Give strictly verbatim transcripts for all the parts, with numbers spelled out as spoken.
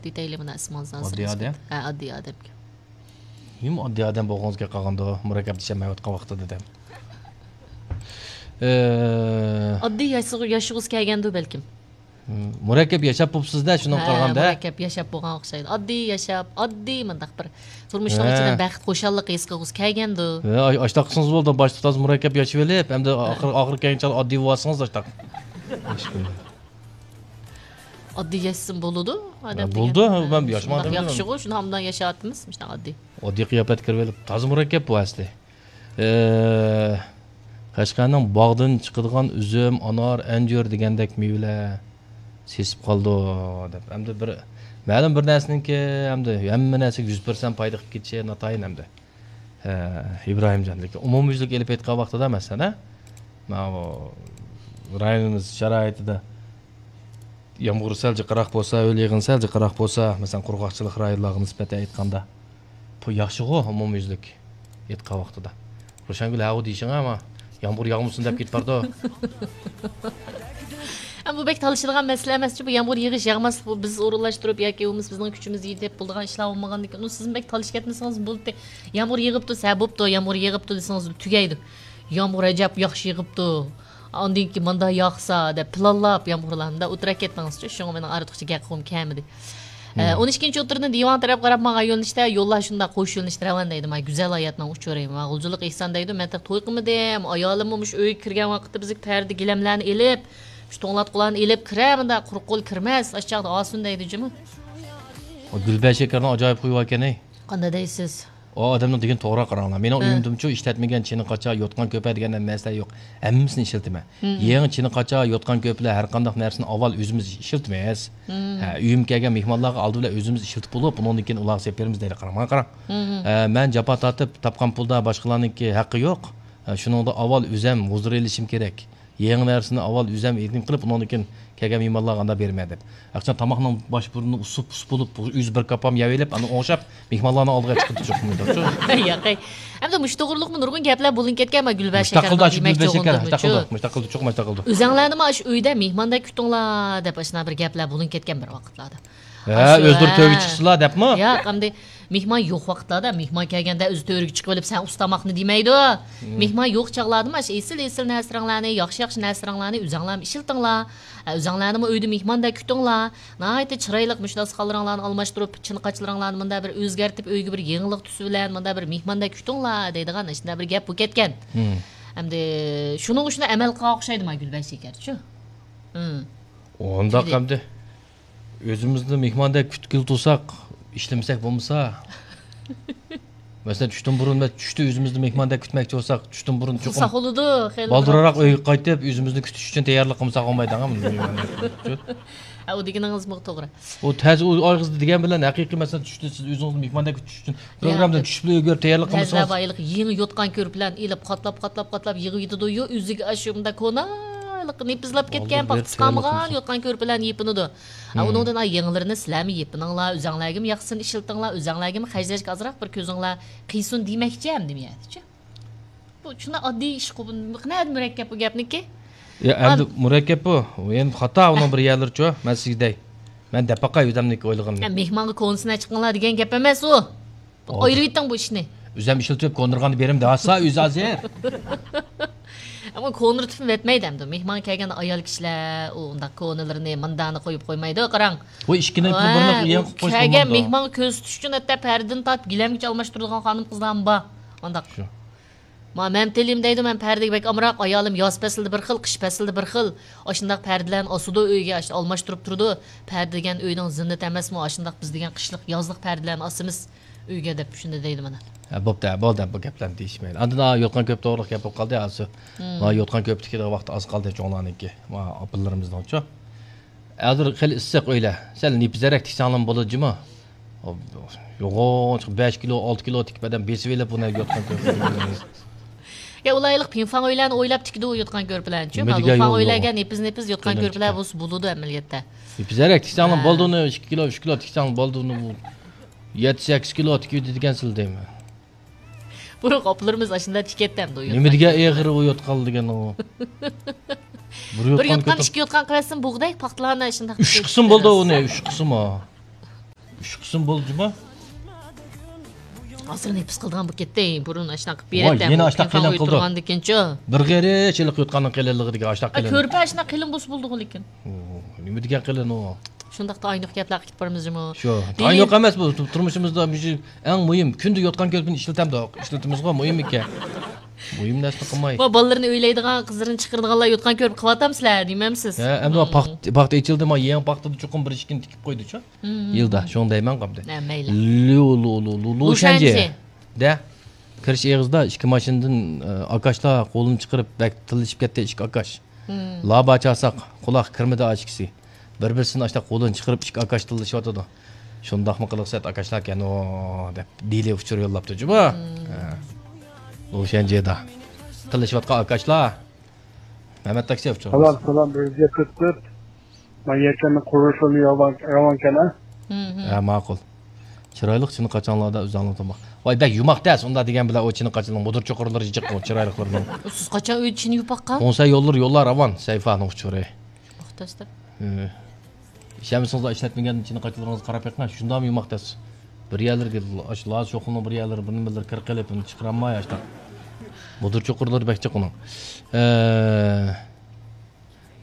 دېتەيلى مانا ئىسمىڭىزنى ئاددىي ئادەم. ھە، ئاددىي ئادەم. ھىم ئاددىي ئادەم بولغىڭىزغا قالغاندۇ، مۇرەككەپ دېيىشەلمەيۋاتقان ۋاقتىدا دەم. ئاددىي ياشىغۇ- ياشىغۇسى كەلگەندۇ بەلكىم. مۇرەككەپ ياشاپ بوپسىز-دە، شۇنىڭغا قارىغاندا. مۇرەككەپ ياشاپ بولغان ئوخشايدۇ. ئاددىي ياشاپ، ئاددىي مۇنداق بىر تۇرمۇشنىڭ ئىچىدە بەخت، خۇشاللىق ھېس قىلغۇسى كەلگەندۇ. ھە، ئاشتاق قىلسىڭىز بولدى، باشتا تازا مۇرەككەپ ياشىۋېلىپ، ئەمدى ئاخىر ئاخىر كەلگەنچە ئاددىي بولۇۋالسىڭىز ئاشتاق. ئاددىي ياشىسىمۇ بولىدۇ ئادەم. بولىدۇ، مەن ياشىماڭ دېمىدىم. ياخشىغۇ، شۇنداق ئاددىي ياشاۋاتىمىز، مۇشۇنداق ئاددىي. ئاددىي قىياپەتكە كىرىۋېلىپ، تازا مۇرەككەپ بۇ ئەسلى. ئە، قەشقەرنىڭ باغدىن چىقىدىغان ئۈزۈم، ئانار، ئەنجۈر دېگەندەك مېۋىلەر سېسىپ قالىدۇ دەپ. ئەمدى بىر مەلۇم بىر نەرسىنىڭكى ئەمدى ھەممە نەرسىگە يۈز پىرسەنت پايدا قىلىپ كېتىشى ناتايىن ئەمدى. ئە، ئىبراھىمجان، لېكىن ئومۇميۈزلۈك ئېلىپ ئېيتقان ۋاقتىدا، مەسىلەن، ماۋۇ رايونىمىز شارائىتىدا يامغۇر سەل جىقراق بولسا، ھۆل يېغىن سەل جىقراق بولسا، مەسىلەن، قۇرغاقچىلىق رايونلارغا نىسبەتەن ئېيتقاندا، بۇ ياخشىغۇ، ئومۇميۈزلۈك ئېيتقان ۋاقتىدا. روشەنگۈل، ھەۋۇ دېيىشىڭ، ئەمما يامغۇر ياغمىسۇن دەپ كېتىپ بارىدۇ. ئەمما بۇ بەك تالىشىدىغان مەسىلە ئەمەسچۇ، بۇ يامغۇر يېغىش ياغماسلىق، بۇ بىز ئورۇنلاشتۇرۇپ ياكى بولمىسا بىزنىڭ كۈچىمىز يېتىپ بولىدىغان ئىشلار بولمىغاندىن كېيىن، ئۇ سىزمۇ بەك تالىشىپ كەتمىسىڭىز بولدى. يامغۇر يېغىپتۇ، سە بوپتۇ، يامغۇر يېغىپتۇ دېسىڭىز تۈگەيدۇ. يامغۇر ئەجەب ياخشى يېغىپتۇ. ئاندىن كېيىن ماندا ياقسا دەپ پىلانلاپ يامغۇرلارنى ئولتۇرۇپ كەتتىڭىزچۇ، شۇڭا مېنىڭ ئارتۇقچە گەپ قىلغۇم كەلمىدى. ئون ئىككىنچى ئوتتۇرىدىن دىۋان تەرەپ قاراپ ماڭغان يۆنىلىشتە يوللار شۇنداق قوش يۆنىلىشتە رەۋان دەيدۇ، ما گۈزەل ھاياتنىڭ ئۇچۇرى. ما غۇلجىلىق ئېھسان دەيدۇ، مەن تېخى توي قىلمىدىم، ئايالىممۇ مۇشۇ ئۆيگە كىرگەن ۋاقىتتا بىزگە تەرىدە گىلەملەرنى ئېلىپ، شۇ توڭلاتقۇلارنى ئېلىپ كىرە، مۇنداق قۇرۇق قول كىرمەس، ئاشۇ چاغدا ئاسۇن دەيدۇ جۇمۇ. گۈلبەشەكەرنىڭ ئاجايىپ خۇيى باركەن. قانداق دەيسىز؟ ئۇ ئادەمنىڭ دېگىنى توغرا، قاراڭلار. مېنىڭ ئۆيۈمدىمۇچۇ ئىشلەتمىگەن چىنە قاچا، يوتقان كۆپە دېگەن نەرسىلەر يوق. ھەممىسىنى ئىشلىتىمەن. يېڭى چىنە قاچا، يوتقان كۆپىلەر، ھەر قانداق نەرسىنى ئاۋۋال ئۆزىمىز ئىشلىتىمىز. ھە، ئۆيۈمگە كەلگەن مېھمانلارغا ئالدى بىلەن ئۆزىمىز ئىشلىتىپ بولۇپ، ئۇنىڭدىن كېيىن ئۇلارغا سېلىپ بېرىمىز دەيدۇ. قاراڭ، ماڭا قاراڭ. ھە، مەن جاپا تارتىپ تاپقان پۇلدا باشقىلارنىڭكى ھەققى يوق. ھە، شۇنىڭدا ئاۋۋال ئۆزەم ھۇزۇر ئېلىشىم كېرەك. يېڭى نەرسىنى ئاۋۋال ئۆزەم ھېلىم قىلىپ، ئۇنىڭدىن كېيىن كەلگەن مېھمانلارغا ئانداق بېرىمەن دەپ. ئاخشام تاماقنىڭ باش بۇرنى ئۇسۇپ، ئۇسۇپ بولۇپ، ئۆزى بىر كاپام يەۋېلىپ، ئاندىن ئوڭشاپ مېھمانلارنىڭ ئالدىغا چىقىدۇ چوقۇم. ياقەي. ئەمدى مۇشۇ توغرىلىقمۇ نۇرغۇن گەپلەر بولۇنۇپ كەتكەن، ما گۈلبەر شېكەر دېمەكچى بولغىنىمچۇ. مۇشتاقىلدى، مۇشتاقىلدى، چوقۇم مۇشتاقىلدى. ئۆزەڭلارنىمۇ ئاشۇ ئۆيدە مېھماندەك كۈتۈڭلار دەپ ئاشۇنداق بىر گەپلەر بولۇنۇپ كەتكەن بىر ۋاقىتلاردا. ھە، ئۆزلىرى تۆرگە چىقسىلا دەپمۇ؟ ياق، ئەمدى مېھمان يوق ۋاقىتلاردا، مېھمان كەلگەندە ئۆزى تۆرگە چىقىۋېلىپ، سەن ئۇستا تاماقنى دېمەيدۇ. مېھمان يوق چاغلاردىمۇ ئاشۇ ئېسىل ئېسىل نەرسىلىرىڭلارنى، ياخشى ياخشى نەرسىلىرىڭلارنى ئۆزەڭلارمۇ ئىشلىتىڭلار. ئە، ئۆزەڭلارنىمۇ ئۆيدە مېھماندەك كۈتۈڭلار. ناھايىتى چىرايلىق مۇشۇ داستىخانلىرىڭلارنى ئالماشتۇرۇپ، چىنە قاچىلىرىڭلارنى مۇنداق بىر ئۆزگەرتىپ، ئۆيگە بىر يېڭىلىق تۈسى بىلەن مۇنداق بىر مېھماندەك كۈتۈڭلار دەيدىغان ئاشۇنداق بىر گەپ بولۇپ كەتكەن. ئەمدى شۇنىڭغا شۇنداق ئەمەل قىلغان ئوخشايدۇ ما گۈلبەشەكەرچۇ. ئۇنداق ئەمدى. ئۆزىمىزنى مېھماندەك كۈتكىلى تۇرساق، ئىشلىمىسەك بولمىسا. مەسىلەن، چۈشتىن بۇرۇن، مەسىلەن، چۈشتە ئۆزىمىزنى مېھماندەك كۈتمەكچى بولساق، چۈشتىن بۇرۇن چوقۇم بالدۇرراق ئۆيگە قايتىپ، ئۆزىمىزنى كۈتۈش ئۈچۈن تەييارلىق قىلمىساق بولمايدۇ. ھە، ئۇ دېگىنىڭىزمۇ توغرا. ئۇ تەس، ئۇ ئايغىزدا دېگەن بىلەن ھەقىقىي، مەسىلەن، چۈشتە سىز ئۆزىڭىزنى مېھماندەك كۈتۈش ئۈچۈن پروگراممىدىن چۈشۈپ ئۆگىنىپ تەييارلىق قىلمىسىڭىز. يېڭى يوتقان كۆرپىلەرنى ئېلىپ، قاتلاپ، قاتلاپ، قاتلاپ يىغىۋېتىدۇ-يۇ، ئۆزىگە ئاشۇ مۇنداق كونا، نېپىزلاپ كەتكەن، پاختىسى قالمىغان يوتقان كۆرپىلەرنى يېپىنىدۇ. ئۇنىڭدىن ئاي يېڭىلىرىنى سىلەرمۇ يېپىنىڭلار، ئۆزەڭلارگىمۇ ياقسىن ئىشلىتىڭلار، ئۆزەڭلارگىمۇ خەجلەشكە ئازراق بىر كۆزۈڭلار قىيسۇن دېمەكچى ئەمدى مەنچۇ. بۇ شۇنداق ئاددىي ئىشقۇ، بۇ نەدە مۇرەككەپ بۇ گەپنىكى؟ يا، ئەمدى مۇرەككەپ بۇ. ئەمدى خاتا ئۇنىڭ بىر يەرلىرىچۇ. مەن سىزگە دەي. مەن دەپ باقاي ئۆزەمنىڭكى ئويلىغىنىنى. مېھمانغا كونىسىنى چىقىڭلار دېگەن گەپ ئەمەس ئۇ. ئايرىۋېتىڭ بۇ ئىشنى. ئۆزەم ئىشلىتىپ كوندۇرغاندا بېرىم دەۋاتسا ئۆزى ھازىر. ئەمما كوندۇرتۇپمۇ ئەتمەيدۇ ئەمدى. مېھمان كەلگەندە ئايال كىشىلەر ئۇ ئۇنداق كونىلىرىنى ماندانى قويۇپ قويمايدۇ، قاراڭ. بۇ ئىككىنى بۇرنىغا يېڭىپ قويسا كەلگەن مېھمانغا كۆرسىتىش ئۈچۈن ھەتتا پەردىنى تارتىپ گىلەمگىچە ئالماشتۇرىدىغان خانىم قىزلارمۇ بار. ئانداق. شۇ. ما مەمتىلىم دەيدۇ، مەن پەردىگە بەك ئامراق، ئايالىم ياز پەسلىدە بىر خىل، قىش پەسلىدە بىر خىل. ئاشۇنداق پەردىلەرنى ئاسىدۇ ئۆيگە، ئاشۇ ئالماشتۇرۇپ تۇرىدۇ. پەردە دېگەن ئۆينىڭ زىننىتى ئەمەسمۇ، ئاشۇنداق بىز دېگەن قىشلىق، يازلىق پەردىلەرنى ئاسىمىز ئۆيگە دەپ شۇنداق دەيدۇ مانا. ھە، بوپتۇ، ھە، بولدى، بۇ گەپلەرنى دېيىشمەيلى. ئاندىن ھا يوتقان كۆپ توغرىلىق گەپ بولۇپ قالدى، ھازىر. ھا يوتقان كۆپ تىكىدىغان ۋاقىت ئاز قالدى چوڭلارنىڭكى. ھا ئاپىلىرىمىزنىڭچۇ. ھازىر خېلى ئىسسىق ئۆيلەر. سەل نېپىزرەك تىكسەڭلارمۇ بولىدۇ جۇمۇ. يوغان بەش كىلو، ئالتە كىلو تىكىپ ئادەم بېسىۋېلىپ بۇنى يوتقان كۆرپىلەرنى. يا ئۇلار ھېلىقى پىڭفاڭ ئۆيلەرنى ئويلاپ تىكىدۇ يوتقان كۆرپىلەرنىچۇ. نېمە دېگەن يوغان ئۆيلەرگە نېپىز نېپىز يوتقان كۆرپىلەر بولسا بولىدۇ ئەمەلىيەتتە. نېپىزرەك تىكسەڭلار بولدى ئۇنى، ئىككى كىلو، ئۈچ كىلو تىكسەڭلار بولدى ئۇنى. يەتتە سەككىز كىلو تىكىۋېتىدىكەنسىلەر دەيمەن. بۇرۇن ئاپىلىرىمىز ئاشۇنداق تىكەتتى ئەمدى ئۇ يوتقان. نېمە دېگەن ئېغىر ئۇ يوتقان دېگەن ئۇ. بىر يوتقان ئىككى يوتقان قىلىۋەتسىمۇ بوغدەك پاختىلارنى ئاشۇنداق. ئۈچ قىسىم بولدى ئۇنى، ئۈچ قىسىم ئۇ. چۈش قىلسىمۇ بولدى جۇمۇ. ھازىر نېپىز قىلىدىغان بولۇپ كەتتى. بۇرۇن ئاشۇنداق ۋاي، يەنە ئاشۇنداق قېلىن قىلدى. بىرغېرىچ ھېلىقى يوتقاننىڭ قېلىنلىقىدىكى ئاشۇنداق قېلىن. كۆرپە ئاشۇنداق قېلىن بولسا بولىدىغۇ لېكىن. نېمە دېگەن قېلىن ئۇ؟ شۇنداقتا ئاينۇق گەپلەر قىلىپ بارىمىز جۇمۇ. شۇ. ئاينۇق ئەمەس بۇ، تۇرمۇشىمىزدا مۇشۇ ئەڭ مۇھىم، كۈندە يوتقان كۆرپىنى ئىشلىتەمدۇق، ئىشلىتىمىزغۇ، مۇھىم ئىكەن. مۇھىم نەرسىنى قىلماي. بالىلىرىنى ئۆيلەيدىغان، قىزلىرىنى چىقىرىدىغانلار يوتقان كۆرپە قىلىۋاتامسىلەر دېمەمسىز؟ ھە، ئەمدى پاختا ئېچىلدى، ما يېڭى پاختىدا چوقۇم بىر ئىككىنى تىكىپ قويدۇچۇ. يىلدا شۇڭا دەيمەن قامدى. ھە، مەيلى. لۇ لۇ لۇ لۇ لۇشەنجى. دە. كىرىش ئېغىزدا ئىككى ماشىنىدىن ئاكاشلار قولىنى چىقىرىپ بەك تىللىشىپ كەتتى، ئىككى ئاكاش. لابا چاساق، قۇلاق كىرمىدى ئاشىكىسى. بىر بىرسىدىن ئاشتا قولىنى چىقىرىپ ئىككى ئاكاش تىللىشىۋاتىدۇ. شۇنداقمۇ قىلىق سەت ئاكاشلار ئەكەن ئۇ دەپ دېلى ئۇچۇر يوللاپتۇ جۇمۇ. لۇشەنجيېدا تىللىشىۋاتقان ئاكاشلار. مەمەت تاكسى ئۇچۇر. سالام سالام، بىر يۈز يەتتە تۆت. مانا يەكەننىڭ قۇرۇلۇشى راۋان راۋانكەن ھە. ھە ماقۇل. چىرايلىق چىنە قاچاڭلاردا ئۆزۈڭلار تاماق. ۋاي بەك يۇماق دەس ئۇنداق دېگەن بىلەن ئۇ چىنە قاچىلىرنىڭ مۇدۇر چوقۇرلىرى جىق ئۇ چىرايلىقلىرىنىڭ. سىز قاچان ئۆيدە چىنە يۇپاققا؟ كونسەي يوللىرى يوللار راۋان سەيفانىڭ ئۇچۇرى. يۇماق دەس دەپ. ئىشەنمىسىڭىزلار ئىشلەتمىگەن چىنە قاچىلىرىڭىزنى قاراپ بېقىڭ شۇنداقمۇ يۇماق دەس. بىر يەرلىرىگە ئاشۇ لاز شوخلىنىڭ بىر يەرلىرى بىر نېمىلىرى كىر قېلىپ ئۇنى چىقىرالماي ئاشۇنداق. مۇدۇر چوقۇرلىرى بەك جىق ئۇنىڭ.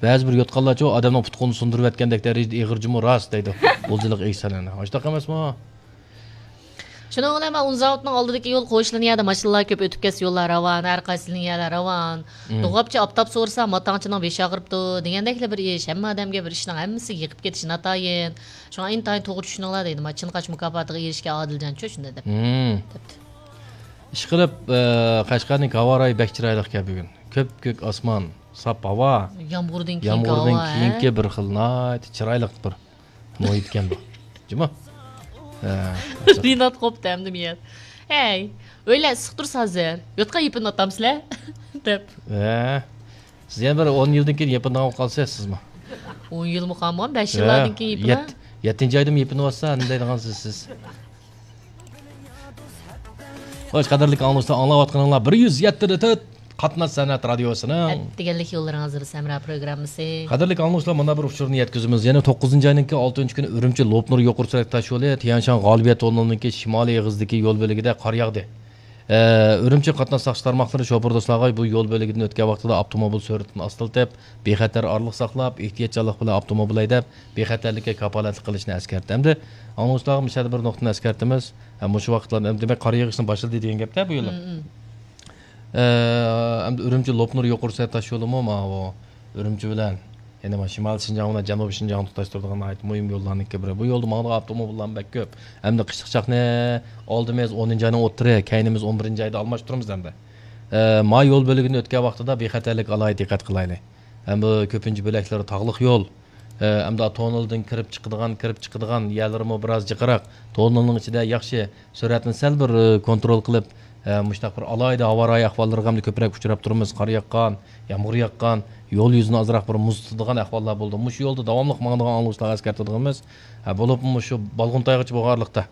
بەزى بىر يوتقانلارچۇ ئادەمنىڭ پۇت-قولىنى سۇندۇرۇۋەتكەندەك دەرىجىدە ئېغىر جۇمۇ راست دەيدۇ. غۇلجىلىق ئېگىز سەنئەتنى. ئاشۇنداق ئەمەسمۇ؟ شۇنىڭ بىلەن مەن ئۇن زاۋۇتىنىڭ ئالدىدىكى يول قويۇشلىرىنى يەردە ماشىنىلار كۆپ ئۆتۈپ كەتسە يوللار راۋان، ھەر قايسىنىڭ يەرلەر راۋان. دوغاپچى ئاپتاپ سورىسا ماتاڭچىنىڭ بېشى ئاغرىپتۇ دېگەندەكلا بىر ئىش. ھەممە ئادەمگە بىر ئىشنىڭ ھەممىسى يېقىپ كېتىشى ناتايىن. شۇڭا ئىنتايىن توغرا چۈشىنىڭلار دەيدۇ. مانا چىنقاچ مۇكاپاتىغا ئېرىشكەن ئادىلجانچۇ شۇنداق دەپ. دەپتۇ. ئىشقىلىپ، قەشقەرنىڭ ھاۋا رايى بەك چىرايلىقكەن بۈگۈن. كۆپكۆك ئاسمان، ساپ ھاۋا. يامغۇردىن كېيىنكى يامغۇردىن كېيىنكى بىر خىل ناھايىتى چىرايلىق بىر مۇھىتكەن بۇ. جۇمۇ. رىنات قوپتى ئەمدى مىيەت. ھەي، ئۆيلەر ئىسسىق تۇرسا ھازىر يوتقان يېپىنىۋاتامسىلەر؟ دەپ. ھە. سىز يەنە بىر ئون يىلدىن كېيىن يېپىنىدىغان بولۇپ قالىسىز سىزمۇ. ئون يىلمۇ قالمىغان، بەش يىللاردىن كېيىن يېپىنە. يەتتىنچى ئايدىمۇ يېپىنىۋاتسا نېمە دەيدىغانسىز سىز؟ خوش، قەدىرلىك ئاڭلىغۇچىلار، ئاڭلاۋاتقىنىڭلار بىر يۈز يەتتە تۆت قاتناش سەنئەت رادىيوسىنىڭ ئەتىگەنلىك يوللىرىڭىز بىلەن ھەمراھ پروگراممىسى. قەدىرلىك ئاڭلىغۇچىلار، مانا بىر ئۇچۇرنى يەتكۈزىمىز. يەنە توققۇزىنچى ئاينىڭكى ئالتىنچى كۈنى ئۈرۈمچى لوپنۇر يۇقىرى سۈرئەت تاش يولى تيەنشان غالىبىيە توننېلىنىڭكى شىمالىي ئېغىزىدىكى يول بۆلىكىدە قار ياغدى. ئە، ئۈرۈمچى قاتناش ساقچى تارماقلىرى شوپۇر دوستلارغا بۇ يول بۆلىكىدىن ئۆتكەن ۋاقتىدا ئاپتوموبىل سۈرئىتىنى ئاستىلىتىپ، بىخەتەر ئارىلىق ساقلاپ، ئېھتىياتچانلىق بىلەن ئاپتوموبىل ھەيدەپ، بىخەتەرلىككە كاپالەتلىك قىلىشنى ئەسكەرتتى. ئەمدى ئاڭلىغۇچىلارغا مۇشۇ يەردە بىر نۇقتىنى ئەسكەرتىمىز. ھە، مۇشۇ ۋاقىتلاردا، دېمەك، قار يېغىشنىڭ باشلىدى دېگەن گەپتە بۇ يىل. ئە، ئەمدى ئۈرۈمچى لوپنۇر يۇقىرى سۈرئەت تاش يولىمۇ ماۋۇ ئۈرۈمچى بىلەن، يەنى مانا شىمالىي شىنجاڭ بىلەن جەنۇبىي شىنجاڭنى تۇتاشتۇرىدىغان ناھايىتى مۇھىم يوللارنىڭكى بىرى. بۇ يولدا ماڭىدىغان ئاپتوموبىللارمۇ بەك كۆپ. ئەمدى قىشلىق چاقنى ئالدىمىز ئونىنچى ئاينىڭ ئوتتۇرى، كەينىمىز ئون بىرىنچى ئايدا ئالماشتۇرىمىز ئەمدى. ئە، ما يول بۆلىكىنى ئۆتكەن ۋاقتىدا بىخەتەرلىككە ئالاھىدە دىققەت قىلايلى. ھەم بۇ كۆپىنچە بۆلەكلىرى تاغلىق يول. ئە، ئەمدى توننېلدىن كىرىپ چىقىدىغان، كىرىپ چىقىدىغان يەرلىرىمۇ بىراز جىقراق. توننېلنىڭ ئىچىدە ياخشى سۈرئەتنى سەل بىر، ئە، كونترول قىلىپ، ئە، مۇشۇنداق بىر ئالاھىدە ھاۋا رايى ئەھۋاللىرىغا ئەمدى كۆپرەك ئۇچراپ تۇرىمىز. قار ياغقان، يامغۇر ياغقان، يول يۈزىنى ئازراق بىر مۇز تۇتىدىغان ئەھۋاللار بولىدۇ. مۇشۇ يولدا داۋاملىق ماڭىدىغان ئاڭلىغۇچىلارغا ئەسكەرتىدىغىنىمىز، ھە، بولۇپمۇ مۇشۇ بالغۇنتايغىچە بولغانلىقتا،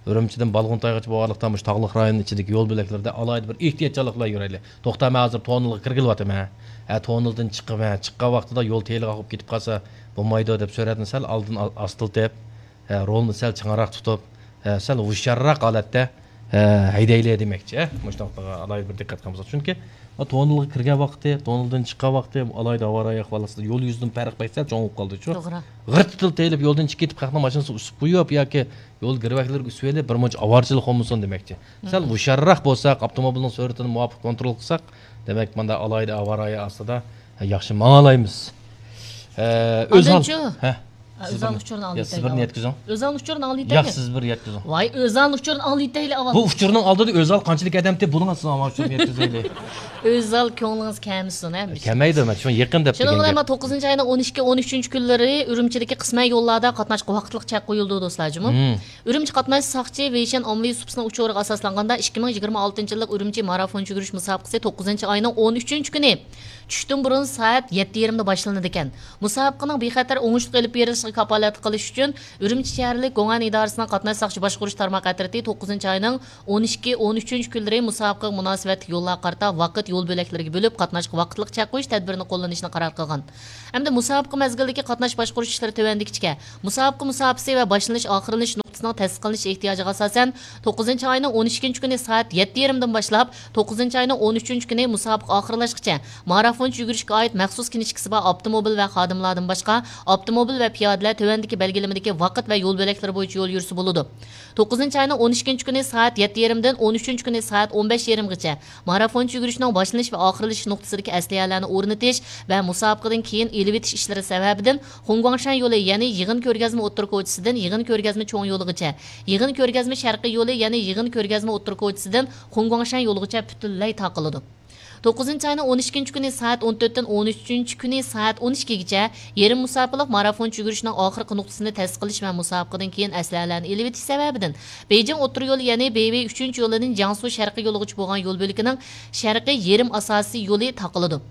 ئۈرۈمچىدىن بالغۇنتايغىچە بولغانلىقتا، مۇشۇ تاغلىق رايوننىڭ ئىچىدىكى يول بۆلەكلىرىدە ئالاھىدە بىر ئېھتىياتچانلىق بىلەن يۈرەيلى. توختا، مەن ھازىر توننېلغا كىرگىلىۋاتىمەن. ھە، توننېلدىن چىقىمەن. چىققان ۋاقتىدا يول تېلىغاق بولۇپ كېتىپ قالسا بولمايدۇ دەپ سۈرئەتنى سەل ئالدىن ئا-، ئاستىلىتىپ، ھە، رولنى سەل چىڭراق تۇتۇپ، ھە، سەل ھوشيارراق ھالەتتە، ھە، ھەيدەيلى دېمەكچى. ھە، مۇشۇ نۇقتىغا ئالاھىدە بىر دىققەت قىلمىساق. چۈنكى توننېلغا كىرگەن ۋاقتى، توننېلدىن چىققان ۋاقتى، ئالاھىدە ھاۋا رايى ئەھۋالى ئاستىدا يول يۈزىدىن پەرق بەك سەل چوڭ بولۇپ قالدىچۇ. توغرا. غىرتتىلا تېيىلىپ يولدىن چىقىپ كېتىپ، خەقنىڭ ماشىنىسىنى ئۇسۇپ قويۇپ ياكى يول گىرۋەكلىرىگە ئۈسۈۋېلىپ، بىر مۇنچە ئاۋارىچىلىق بولمىسۇن دېمەكچى. سەل ھوشيارراق بولساق، ئاپتوموبىلنىڭ سۈرئىتىنى مۇۋاپىق كونترول قىلساق، دېمەك، مانداق ئالاھىدە ئاۋارە ئاستىدا ياخشى ماڭالايمىز. ئە، ئۆزھال. ئاندىنچۇ؟ ھە. ئۆزھال ئۇچۇرىنى ئاڭلىتايلى. سىز بىرنى يەتكۈزۈڭ. ئۆزھال ئۇچۇرىنى ياق، ئاڭلىتايلى. سىز بىر يەتكۈزۈڭ. ۋاي، ئۆزھال ئۇچۇرىنى ئاڭلىتايلى ئاۋۋال. بۇ ئۇچۇرنىڭ ئالدىدا ئۆزھال قانچىلىك ئادەمتى بۇنىڭ ئاستىدا ئاۋۋال ئۇچۇرنى يەتكۈزەيلى. ئۆزھال كۆڭلىڭىز كەلمىسۇن، ھە. كەلمەيدۇ، مەن شۇ يېقىن دەپ شۇنىڭ بىلەن ما توققۇزىنچى ئاينىڭ ئون ئىككى، ئون ئۈچىنچى كۈنلىرى ئۈرۈمچىدىكى قىسمەن يوللاردا قاتناشقا ۋاقىتلىق چەك قويۇلىدۇ، دوستلار، جۇمۇ. ئۈرۈمچى قاتناش ساقچى ۋېيشەن ئاممىۋى سۇپىسىنىڭ ئۇچۇرىغا ئاساسلانغاندا، ئىككى مىڭ يىگىرمە ئالتىنچى يىللىق ئۈرۈمچى مارافون يۈگۈرۈش مۇسابىقىسى توققۇزىنچى ئاينىڭ ئون ئۈچىنچى كۈنى چۈشتىن بۇرۇن سائەت يەتتە يېرىمدا باشلىنىدىكەن. مۇسابىقىنىڭ بىخەتەر، ئوڭۇشلۇق ئېلىپ بېرىلىشىغا كاپالەتلىك قىلىش ئۈچۈن، ئۈرۈمچى شەھەرلىك گوڭئەن ئىدارىسىنىڭ قاتناش ساقچى باشقۇرۇش تارماق ئەترىتى توققۇزىنچى ئاينىڭ ئون ئىككى، ئون ئۈچىنچى كۈنلىرى مۇسابىقىگە مۇناسىۋەتلىك يوللارغا قارىتا ۋاقىت يول بۆلەكلىرىگە بۆلۈپ، قاتناشقا ۋاقىتلىق چەك قويۇش تەدبىرىنى قوللىنىشنى قارار قىلغان. ئەمدى مۇسابىقە مەزگىلىدىكى قاتناش باشقۇرۇش ئىشلىرى تۆۋەندىكىچە. مۇسابىقە مۇساپىسى ۋە باشلىنىش، ئاخىرلىنىش نۇقتىسى مۇسابىقىسىنىڭ تەسىس قىلىنىش ئېھتىياجىغا ئاساسەن، توققۇزىنچى ئاينىڭ ئون ئىككىنچى كۈنى سائەت يەتتە يېرىمدىن باشلاپ، توققۇزىنچى ئاينىڭ ئون ئۈچىنچى كۈنى مۇسابىقە ئاخىرلاشقىچە مارافونچە يۈگۈرۈشكە ئائىت مەخسۇس كىنىشكىسى بار ئاپتوموبىل ۋە خادىملاردىن باشقا، ئاپتوموبىل ۋە پىيادىلەر تۆۋەندىكى بەلگىلىمىدىكى ۋاقىت ۋە يول بۆلەكلىرى بويىچە يول يۈرسە بولىدۇ. توققۇزىنچى ئاينىڭ ئون ئىككىنچى كۈنى سائەت يەتتە يېرىمدىن ئون ئۈچىنچى كۈنى سائەت ئون بەش يېرىمغىچە مارافونچە يۈگۈرۈشنىڭ باشلىنىش ۋە ئاخىرلىشىش نۇقتىسىدىكى ئەسلىھەلەرنى ئورنىتىش ۋە مۇسابىقىدىن كېيىن ئېلىۋېتىش ئىشلىرى سەۋەبىدىن، خۇڭگۇاڭشەن يولى، يەنى يىغىن كۆرگەزمە ئوتتۇرا كوچىسىدىن يىغىن كۆرگەزمە چوڭ يولىغىچە، يىغىن كۆرگەزمە شەرقىي يولى، يەنى يىغىن كۆرگەزمە ئوتتۇرا كوچىسىدىن خۇڭگۇاڭشەن يولىغىچە پۈتۈنلەي تاقىلىدۇ. توققۇزىنچى ئاينىڭ ئون ئىككىنچى كۈنى سائەت ئون تۆتتىن ئون ئۈچىنچى كۈنى سائەت ئون ئىككىگىچە يېرىم مۇساپىلىق مارافونچە يۈگۈرۈشنىڭ ئاخىرقى نۇقتىسىنى تەسىس قىلىش ۋە مۇسابىقىدىن كېيىن ئەسلىھەلەرنى ئېلىۋېتىش سەۋەبىدىن، بېيجىڭ ئوتتۇرا يولى، يەنى بېيۋېي ئۈچىنچى يولىدىن جياڭسۇ شەرقىي يولىغىچە بولغان يول بۆلىكىنىڭ شەرقىي يېرىم ئاساسىي يولى تاقىلىدۇ.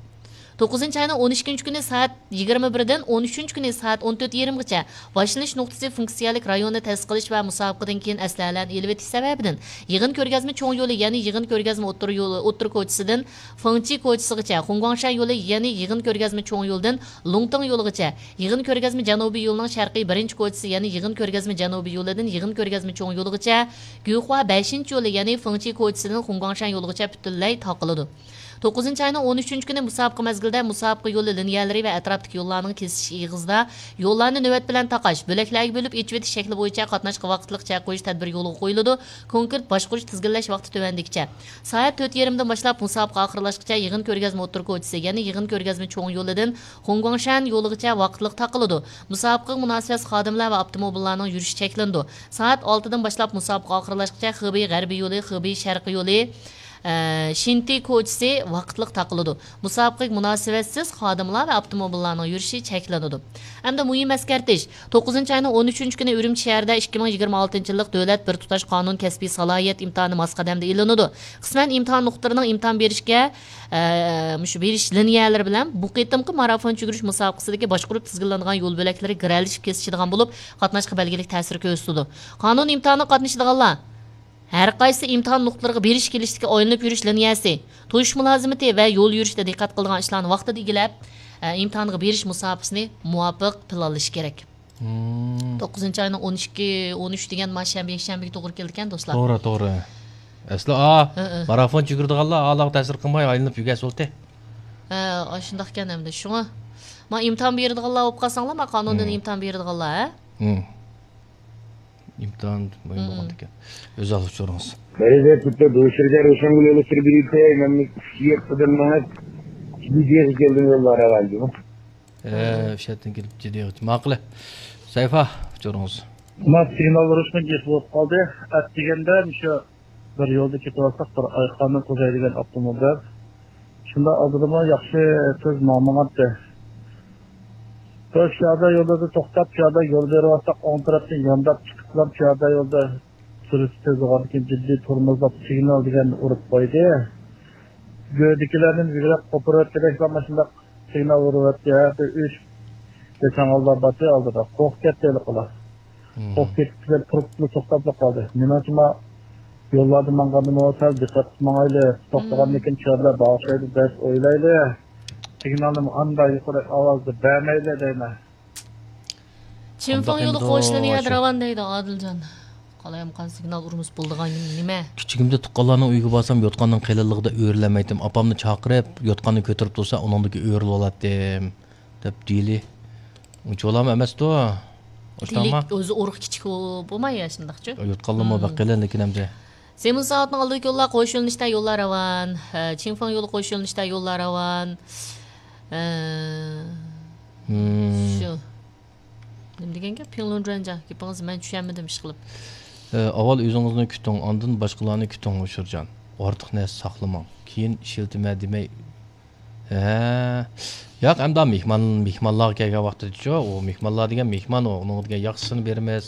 توققۇزىنچى ئاينىڭ ئون ئىككىنچى كۈنى سائەت يىگىرمە بىردىن ئون ئۈچىنچى كۈنى سائەت ئون تۆت يېرىمغىچە باشلىنىش نۇقتىسى فۇنكسىيەلىك رايونى تەسىس قىلىش ۋە مۇسابىقىدىن كېيىن ئەسلىھەلەرنى ئېلىۋېتىش سەۋەبىدىن، يىغىن كۆرگەزمە چوڭ يولى، يەنى يىغىن كۆرگەزمە ئوتتۇرا يولى، ئوتتۇرا كوچىسىدىن فېڭچى كوچىسىغىچە، خۇڭگۇاڭشەن يولى، يەنى يىغىن كۆرگەزمە چوڭ يولىدىن لۇڭتىڭ يولىغىچە، يىغىن كۆرگەزمە جەنۇبىي يولىنىڭ شەرقىي بىرىنچى كوچىسى، يەنى يىغىن كۆرگەزمە جەنۇبىي يولىدىن يىغىن كۆرگەزمە چوڭ يولىغىچە، گۈخۇا بەشىنچى يولى، يەنى فېڭچى كوچىسىدىن خۇڭگۇاڭشەن يولىغىچە پۈتۈنلەي تاقىلىدۇ. توققۇزىنچى ئاينىڭ ئون ئۈچىنچى كۈنى مۇسابىقە مەزگىلىدە مۇسابىقە يولى لىنىيەلىرى ۋە ئەتراپتىكى يوللارنىڭ كېسىشىش ئېغىزىدا يوللارنى نۆۋەت بىلەن تاقاش، بۆلەكلەرگە بۆلۈپ ئېچىۋېتىش شەكلى بويىچە قاتناشقا ۋاقىتلىق چەك قويۇش تەدبىرى يولغا قويۇلىدۇ. كونكرېت باشقۇرۇش، تىزگىنلەش ۋاقتى تۆۋەندىكىچە. سائەت تۆت يېرىمدىن باشلاپ مۇسابىقە ئاخىرلاشقىچە يىغىن كۆرگەزمە ئوتتۇرا كوچىسى، يەنى يىغىن كۆرگەزمە چوڭ يولىدىن خۇڭگۇاڭشەن يولىغىچە ۋاقىتلىق تاقىلىدۇ. مۇسابىقىگە مۇناسىۋەتسىز خادىملار ۋە ئاپتوموبىللارنىڭ يۈرۈشى چەكلىنىدۇ. سائەت ئالتىدىن باشلاپ مۇسابىقە ئاخىرلاشقىچە خېبېي غەربىي يولى، خېبېي شەرقىي يولى، ئە، شىنتى كوچىسى ۋاقىتلىق تاقىلىدۇ. مۇسابىقىگە مۇناسىۋەتسىز خادىملار ۋە ئاپتوموبىللارنىڭ يۈرۈشى چەكلىنىدۇ. ئەمدى مۇھىم ئەسكەرتىش. توققۇزىنچى ئاينىڭ ئون ئۈچىنچى كۈنى ئۈرۈمچى شەھىرىدە ئىككى مىڭ يىگىرمە ئالتىنچى يىللىق دۆلەت بىر تۇتاش قانۇن كەسپىي سالاھىيەت ئىمتىھانى ماس قەدەمدە ئېلىنىدۇ. قىسمەن ئىمتىھان نۇقتىلىرىنىڭ ئىمتىھان بېرىشكە، ئە، مۇشۇ بېرىش لىنىيەلىرى بىلەن بۇ قېتىمقى مارافون يۈگۈرۈش مۇسابىقىسىدىكى باشقۇرۇپ تىزگىنلىنىدىغان يول بۆلەكلىرى گىرەلىشىپ كېسىشىدىغان بولۇپ، قاتناشقا بەلگىلىك تەسىر كۆرسىتىدۇ. قانۇن ئىمتىھانىغا قاتنىشىدىغانلار ھەر قايسى ئىمتىھان نۇقتىلىرىغا بېرىش كېلىشتىكى ئايلىنىپ يۈرۈش لىنىيەسى، توشۇش مۇلازىمىتى ۋە يول يۈرۈشتە دىققەت قىلىدىغان ئىشلارنى ۋاقتىدا ئىگىلەپ، ئە، ئىمتىھانغا بېرىش مۇساپىسىنى مۇۋاپىق پىلانلىشى كېرەك. مم. توققۇزىنچى ئاينىڭ ئون ئىككى، ئون ئۈچ دېگەن ما شەنبە، يەكشەنبىگە توغرا كېلىدىكەن، دوستلار. توغرا، توغرا. ئەسلى، ئا، ھە، ھە. مارافون يۈگۈرىدىغانلار ئالاغا تەسىر قىلماي ئايلىنىپ يۈرگەن بولدى. ھە، ئاشۇنداقكەن ئەمدى. شۇڭا ما ئىمتىھان بېرىدىغانلار بولۇپ قالساڭلار، ما قانۇندىن مم. ئىمتىھان بېرىدىغانلار، ھە؟ مم. ئىمتىھان مۇھىم مم. بولغاندىكەن. ئۆز ئالدىغا ئۇچۇرىڭىز. مەركەزدە دوشىرگە روشەنگۈل يولى سۈرۈپ يۈرۈپ، مەن يەتتىدىن مېڭىپ، جىددىيەتكە كەلدىم يوللار ھەۋالىدىمۇ. ئە، ئۈچەتتىن كېلىپ جىددىيەت. ماقۇل. سەيفا، ئۇچۇرىڭىز. ما سىگنال ئۇرۇشنىڭ گېپى بولۇپ قالدى. ئەتىگەندە مۇشۇ بىر يولدا كېتىۋاتساق، بىر ئايخاننىڭ قوزاي دېگەن ئاپتوموبىل. شۇنداق ئالدىدا ياخشى تېز ماڭمىغانتى. بىر پىيادە يولدا توختاپ، پىيادە يول بېرىۋاتساق، ئوڭ تەرەپتىن يانداپ چىقىپلا پىيادە يولدا سۈرئىتى تېز بولغاندىكىن جىددىي تورمۇزلاپ سىگنال دېگەننى ئۇرۇپ قويدى. گۆدىكىلەردىن بىگرەك قوپۇرۇۋەتكۈدەكلا ماشۇنداق سىگنال ئۇرۇۋەتتى. ھەر بىر ئۈچ بەش ئاللا باتى ئالدىدا. قورقۇپ كەتتى ھېلىقىلار. مم. قورقۇپ كېتىپ كېتىپ تۇرۇپلا توختاپلا قالدى. مېنىڭچە ما يوللاردا ماڭغاندىمۇ سەل دىققەت قىلىپ ماڭايلى. توختىغاندىن كېيىن چۆرىلەر باغىشلايدۇ دەپ ئويلايلى. سىگنالنى ئانداق يۇقىرى ئاۋازدا بەرمەيلى دەيمەن. چىنفېڭ يولى قوشۇلىنى يەدە راۋان دەيدۇ ئادىلجان. قالايمىقان سىگنال ئۇرمىسا بولىدىغان نېمە؟ كىچىكىمدە تۇغقانلارنىڭ ئۆيىگە بارسام، يوتقاننىڭ قېلىنلىقىدا ئۆرۈلەلمەيتتىم. ئاپامنى چاقىرىپ، يوتقاننى كۆتۈرۈپ تۇرسا، ئۇنىڭدىكى ئۆرۈلۈۋالاتتىم، دەپ دېيىلى. ئۇنچىۋالامۇ ئەمەستۇ. ئۆزى ئۇرۇق كىچىك بولماي يا شۇنداقچۇ؟ يوتقانلىرىمۇ بەك قېلىن لېكىن ئەمدى. سېمىز سائەتنىڭ ئالدىدىكى يوللار قوش يۆنىلىشتە يوللار راۋان. ھە، چىنفېڭ يولى قوش يۆنىلىشتە يوللار راۋان. ھە. شۇ. نېمە دېگەن گەپ؟ پىڭلۇن جۇەنجاڭ، گېپىڭىزنى مەن چۈشەنمىدىم ئىشقىلىپ. ئە، ئاۋۋال ئۆزىڭىزنى كۈتۈڭ، ئاندىن باشقىلارنى كۈتۈڭ، ئۇشۇرجان. ئارتۇق نەرسە ساقلىماڭ. كېيىن ئىشلىتىمەن دېمەي. ھە. ياق، ئەمدى مېھمان، مېھمانلارغا كەلگەن ۋاقتىدىچۇ، ئۇ مېھمانلار دېگەن مېھمان، ئۇ، ئۇنىڭغا دېگەن ياخشىسىنى بېرىمىز.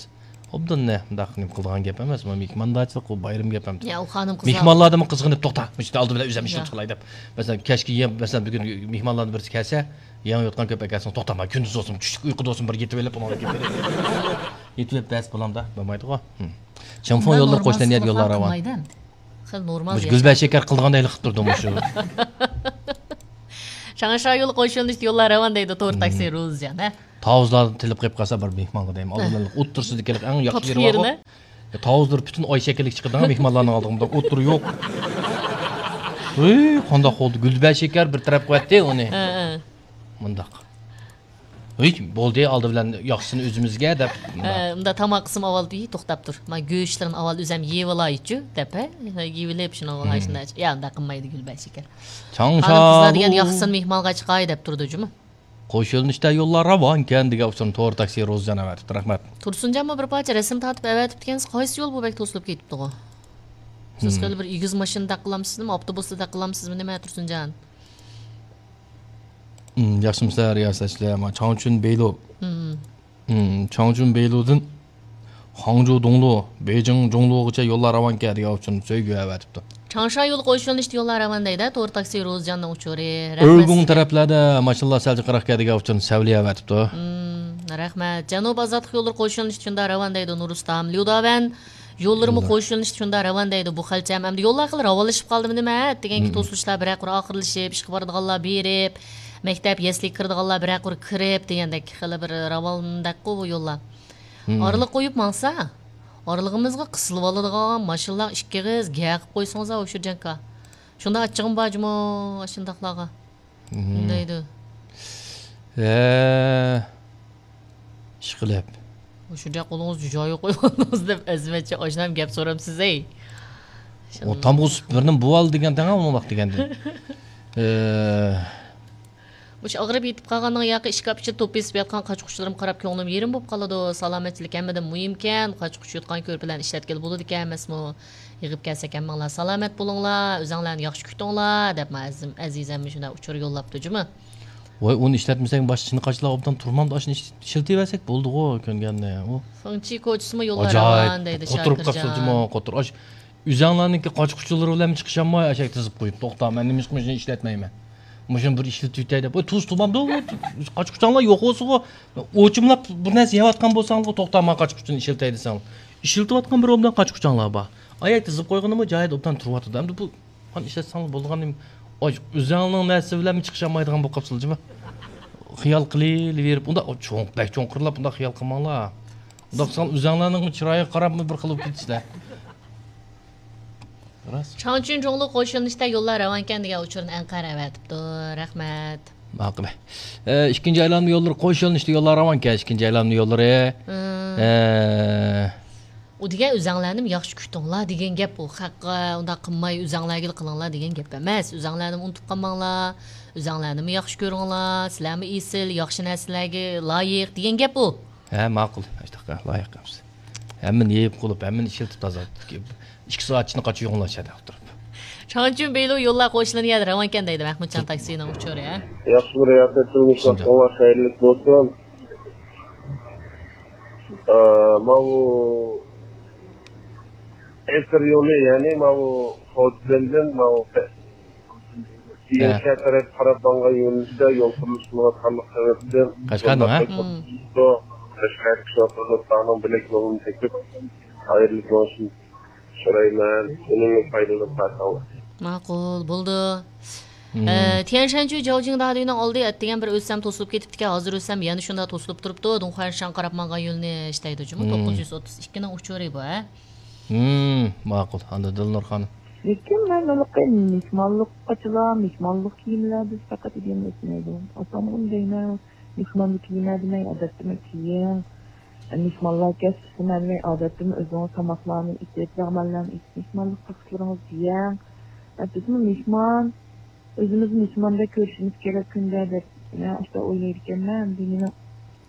ئوبدان نە، مۇنداق نېمە قىلىدىغان گەپ ئەمەس، بۇ مېھماندارچىلىق، ئۇ بايرام گەپ ئەمدى. يا، ئۇ خانىم قىزلار. مېھمانلاردىنمۇ قىزغىنىپ، توختا، مۇشۇ ئالدى بىلەن ئۆزۈم ئىشىم يا. چىقىلاي دەپ. مەسىلەن، كەچكە يەم، مەسىلەن، بۈگۈن مېھمانلاردىن بىرسى كەلسە، يېڭى يوتقان كۆپ ئەكەلسىڭىز، توختا، مانا كۈندۈز بولسۇن، چۈشلۈك ئۇيقۇدا بولسۇن، بىر يېتىۋېلىپ، ئۇنىڭدىن كېيىن يېتىۋېلىپ بەس بولامدا، بولمايدىغۇ. چىڭفېڭ يوللىرى قوشنان يەر يوللار راۋان. خېلى نورمال. مۇشۇ ياشاش. گۈلبەشەكەر قىلىدىغاندەك قىلىپ تۇردۇم مۇشۇ. تاڭشا يولى قوش يۆنىلىشتە يوللار راۋان دەيدۇ تور تاكسى روزىجان، ھە؟ تاۋۇزلاردىن تېلېپ قېلىپ قالسا بىر مېھمانغا دەيمەن. ئالدىمدا ئوتتۇرىسىدىكى ئەڭ ياخشى يېرى بارغۇ. تاتلىق يېرىنى. تاۋۇزلار پۈتۈن ئاي شەكىللىك چىقىدىغان مېھمانلارنىڭ ئالدىغا مۇنداق ئوتتۇرا يوق. ھېي، قانداق بولدى؟ گۈلبەشىكەر بىر تەرەپ قىلىۋەتتى ئۇنى. ھە، ھە. مۇنداق. ھېي، بولدى، ئالدى بىلەن ياخشىسىنى ئۆزىمىزگە دەپ. ھە، ئۇندا تاماق قىسمى ئاۋۋال، ھېي، توختاپ تۇر. مانا گۆشلىرىنى ئاۋۋال ئۆزەم يېۋىلايچۇ دەپ، ھە؟ يېۋىلىپ شۇنىڭغا شۇنداق. يا، ئۇنداق قىلمايدۇ گۈلبەشىكەر. چاڭشا. خانىم قىزلار دېگەن ياخشىسىنى مېھمانغا چىقاي دەپ تۇرىدۇ جۇمۇ. قوش يۆنىلىشتە يوللار راۋانكەن دېگەن ئۇچۇرنى تور تاكسى روزىجان ئەۋەتىپتۇ. رەھمەت. تۇرسۇنجانمۇ بىر پارچە رەسىم تارتىپ ئەۋەتىپتىكەنسىز، قايسى يول بۇ بەك توسۇلۇپ كېتىپتىغۇ؟ سىز خېلى بىر ئېگىز ماشىنىدا قىلامسىزمۇ، ئاپتوبۇستا قىلامسىزمۇ، نېمە تۇرسۇنجان؟ ياخشىمۇسىلەر رىياسەتچىلەر؟ مانا چاڭچۈن بېيلۇ. چاڭچۈن بېيلۇدىن خاڭجۇ دۇڭلۇ، بېيجىڭ جۇڭلۇغىچە يوللار راۋانكەن دېگەن ئۇچۇرنى سۆيگۈ ئەۋەتىپتۇ. چاڭشا يولى قوش يۆنىلىشتە يوللار راۋان دەيدۇ، تور تاكسى روزىجاننىڭ ئۇچۇرى. رەھمەت ئۆگۈڭ سىزگە. تەرەپلەردە ماشىنىلار سەل جىقراق دېگەن ئۇچۇرنى سەۋلىيە ئەۋەتىپتۇ. رەھمەت. جەنۇبىي ئازادلىق يوللىرى قوش يۆنىلىشتە شۇنداق راۋان دەيدۇ نۇرۇسلام. ليۇداۋەن يوللىرىمۇ قوش يۆنىلىشتە شۇنداق راۋان دەيدۇ بۇ خەلچەم. ئەمدى يوللار خېلى راۋانلىشىپ قالدىمۇ نېمە؟ دېگەنكى توسۇلۇشلار بىرەر قۇر ئاخىرلىشىپ، ئىشقا بارىدىغانلار بېرىپ، مەكتەپ، يەسلىگە كىرىدىغانلار بىرەر قۇر كىرىپ دېگەندەك خېلى بىر راۋاندەكقۇ بۇ يوللار. ئارىلىق قويۇپ ماڭسا، ئارىلىقىمىزغا قىسىلىۋالىدىغان ماشىنىلار ئىككى ئېغىز گەپ قىلىپ قويسىڭىز ئوشۇرجانكا. شۇنداق ئاچچىقىم بار جۇمۇ ئاشۇنداقلارغا. دەيدۇ. ھە. ئىشقىلىپ. ئوشۇرجان قولىڭىزنى جايىغا قويۇۋالدىڭىز دەپ ئەزىمەتچە ئاشۇنداق گەپ سورامسىز ئەي. ئو تامغا سۈت بىرنى بۇۋال دېگەن تەڭ ئۇنىڭ دېگەندىن. ھە. مۇشۇ ئاغرىپ يېتىپ قالغاننىڭ ياقى ئىشكاپ ئىچىدە توپ بېسىپ ياتقان قاچا-قۇچىلىرىمغا قاراپ كۆڭلۈم يېرىم بولۇپ قالىدۇ. سالامەتچىلىك ھەممىدىن مۇھىمكەن. قاچا-قۇچا يۇتقان كۆرپىلەرنى ئىشلەتكىلى بولىدىكەن ئەمەسمۇ؟ يىغىپ كەلسەك ھەممىڭلار سالامەت بولۇڭلار، ئۆزۈڭلارنى ياخشى كۈتۈڭلار، دەپ مانا ئەزىز-، ئەزىزەممۇ شۇنداق ئۇچۇر يوللاپتۇ جۇمۇ. ۋاي، ئۇنى ئىشلەتمىسەك باشقا چىنە قاچىلار ئوبدان تۇرمامدۇ، ئاشۇنى ئىش-، ئىشلىتىۋەرسەك بولدىغۇ كۆنگەننى. ئۇ فېڭچى كوچىسىمۇ يوللار ئاجايىپ راۋان دەيدۇ، قوتۇرۇپ قاپسىز جۇمۇ، قوتۇر. ئاش-، ئۆزەڭلارنىڭكى قاچا-قۇچىلىرى بىلەن چىقىشالماي ئەشەك تىزىپ قويۇپ، توختا، مەن نېمە ئىش قىلمىشىنى ئىشلەتمەيمەن. مۇشۇنى بىر ئىشلىتىۋېتەي دەپ. ۋاي، تۇز تۇمامدۇ، قاچا-قۇچاڭلار يوق بولسىغۇ، ئوچۇملاپ بىر نەرسە يەۋاتقان بولساڭلار، توختا، مانا قاچا-قۇچىنى ئىشلىتەي دېسەڭلار. ئىشلىتىۋاتقان بىر ئوبدان قاچا-قۇچاڭلار بار. ئاياك تىزىپ قويغىنىمۇ جايىدا ئوبدان تۇرۇۋاتىدۇ. ئەمدى بۇ، مانا ئىشلەتسەڭلار بولىدىغان نېمە؟ ئاي، ئۆزەڭنىڭ نەرسە بىلەن چىقىشالمايدىغان بولۇپ قاپسىلە جۇمۇ. خىيال قىلىۋېرىپ، ئۇنداق چوڭ، بەك چوڭقۇرلاپ ئۇنداق خىيال قىلماڭلار. ئۇنداق قىلساڭلار ئۆزەڭلارنىڭ چىرايىغا قاراپمۇ بىر خىل بولۇپ كېتىسىلەر. راست. چاڭچۈن جۇڭلۇ قوش يۆنىلىشتە يوللار راۋانكەن دېگەن ئۇچۇرنى ئەنقەرە ئەۋەتىپتۇ. رەھمەت. ماقۇل. ئە، ئىككىنچى ئايلانما يوللىرى قوش يۆنىلىشتە يوللار راۋانكەن، ئىككىنچى ئايلانما يوللىرى. ئە. ئۇ دېگەن ئۆزەڭلارنىمۇ ياخشى كۈتۈڭلار دېگەن گەپ ئۇ. خەققە ئۇنداق قىلماي ئۆزەڭلارگىلا قىلىڭلار دېگەن گەپ ئەمەس. ئۆزەڭلارنىمۇ ئۇنتۇپ قالماڭلار. ئۆزەڭلارنىمۇ ياخشى كۆرۈڭلار. سىلەرمۇ ئېسىل، ياخشى نەرسىلەرگە لايىق دېگەن گەپ ئۇ. ھە، ماقۇل. ئاشتاققا لايىق ئەمىسە. ھەممىنى يېيىپ قۇلۇپ، ھەممىنى ئىشلىتىپ تازا. ئىككى سائەت ئىچىدە قاچا يۇيۇڭلار شەدە ئولتۇرۇپ. چاڭچۈن بېيلۇ يوللار قوشۇلىنى يەردە راۋانكەن دەيدۇ مەھمۇتجان تاكسىنىڭ ئۇچۇرى، ھە؟ ياخشى بىر رىياسەتچىلىك ئىشلەتكەنلەر خەيرلىك بولسۇن. ئە، ماۋۇ ئەسىر يولى، يەنى ماۋۇ خوجىلىندىن ماۋۇ شەھەر تەرەپ قاراپ ماڭغان يۆنىلىشتە يول قۇرۇلۇشى قىلىۋاتقانلىقى سەۋەبىدىن قەشقەرنىڭ، ھە؟ قەشقەر كىشىلەر بىلەك يولىنى تېپىپ، خەيرلىك بولۇشىنى سورايمەن. ئۇنىڭدىن پايدىلىنىپ قالساڭلار. ماقۇل، بولدى. ئە، تيەنشەنچۈ جاۋجىڭ دادۈينىڭ ئالدى ئەتىگەن بىر ئۆتسەم توسۇلۇپ كېتىپتىكەن، ھازىر ئۆتسەم يەنە شۇنداق توسۇلۇپ تۇرۇپتۇ. دۇڭخۇەنشان قاراپ ماڭغان يۆنىلىش دەيدۇ جۇمۇ، توققۇز يۈز ئوتتۇز ئىككىنىڭ ئۇچۇرى بۇ، ھە؟ ماقۇل. ئاندىن دىلنۇر خانىم. لېكىن مەن ھېلىقى مېھمانلىققىچىلا، مېھمانلىق كىيىملەردە پەقەت دېگەن ئۆتمەيدۇ. ئاتامغىمۇ دەيمەن، مېھمانلىق كىيىملەردە مەن ئادەتتىمۇ كىيىڭ. مېھمانلار كەلسە مەن ئادەتتىمۇ ئۆزىڭىز تاماقلارنى ئېتىپ، لەغمەنلەرنى ئېتىپ، مېھمانلىق تارتىشلىرىڭىزنى يەڭ. بىزمۇ مېھمان، ئۆزىمىزنى مېھماندەك كۆرۈشىمىز كېرەك كۈندە دەپ، مەن ئاشۇنداق ئويلايدىكەنمەن. ئەمدى مېنىڭ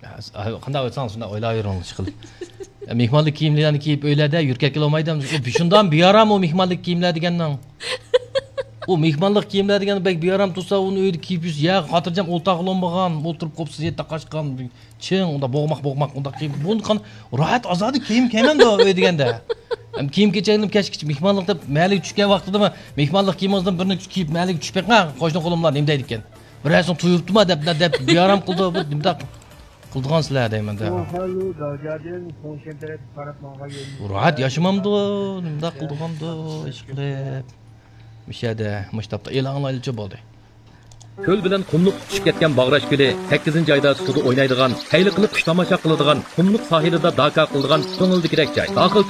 ھە، قانداق ئويلىساڭ شۇنداق ئويلاۋېرىڭ، ئىشقىلىپ. مېھمانلىق كىيىملىرىنى كىيىپ ئۆيلەردە يۈرۈپ كەتكىلى بولمايدۇ. ئۇ شۇنداق بىئارام ئۇ مېھمانلىق كىيىملەر دېگەننىڭ. ئۇ مېھمانلىق كىيىملەر دېگەن بەك بىئارام تۇرسا، ئۇنى ئۆيدە كىيىپ يۈرسە، يا خاتىرجەم ئولتۇرغىلى بولمىغان، ئولتۇرۇپ قوپسىز يەتتە قاچقان، چىڭ، ئۇنداق بوغماق، بوغماق، ئۇنداق كىيىم. بۇنى قان راھەت ئازادە كىيىم كىيمەندۇ ئۆي دېگەندە. ھەم كىيىم كېچەكلىرىم كەچكىچە مېھمانلىق دەپ مەھەللىگە چۈشكەن ۋاقتىدىمۇ مېھمانلىق كىيىمىڭىزدىن بىرنى كىيىپ مەھەللىگە چۈشۈپ بېقىڭ، قوشنا قولۇملار نېمە دەيدىكەن. بىرەرسىنى تويۇپتىما دەپ، دەپ بىئارام قىلدى، بىر نېمىداق قىلىدىغان سىلەر دەيمەن-دە. راھەت ياشىمامدۇ، نېمىداق قىلىدىغاندۇ، ئىشقىلىپ. مۇشۇ يەردە مۇشتاپتا ئېلان ئايلىچە بولدى. كۆل بىلەن قۇملۇق تۇتىشىپ كەتكەن باغراش كۆلى، سەككىزىنچى ئايدا سۇدا ئوينايدىغان، سەيلە قىلىپ كۈن تاماشا قىلىدىغان، قۇملۇق ساھىلىدا داكا قىلىدىغان كۆڭۈلدىكىدەك جاي. داخىل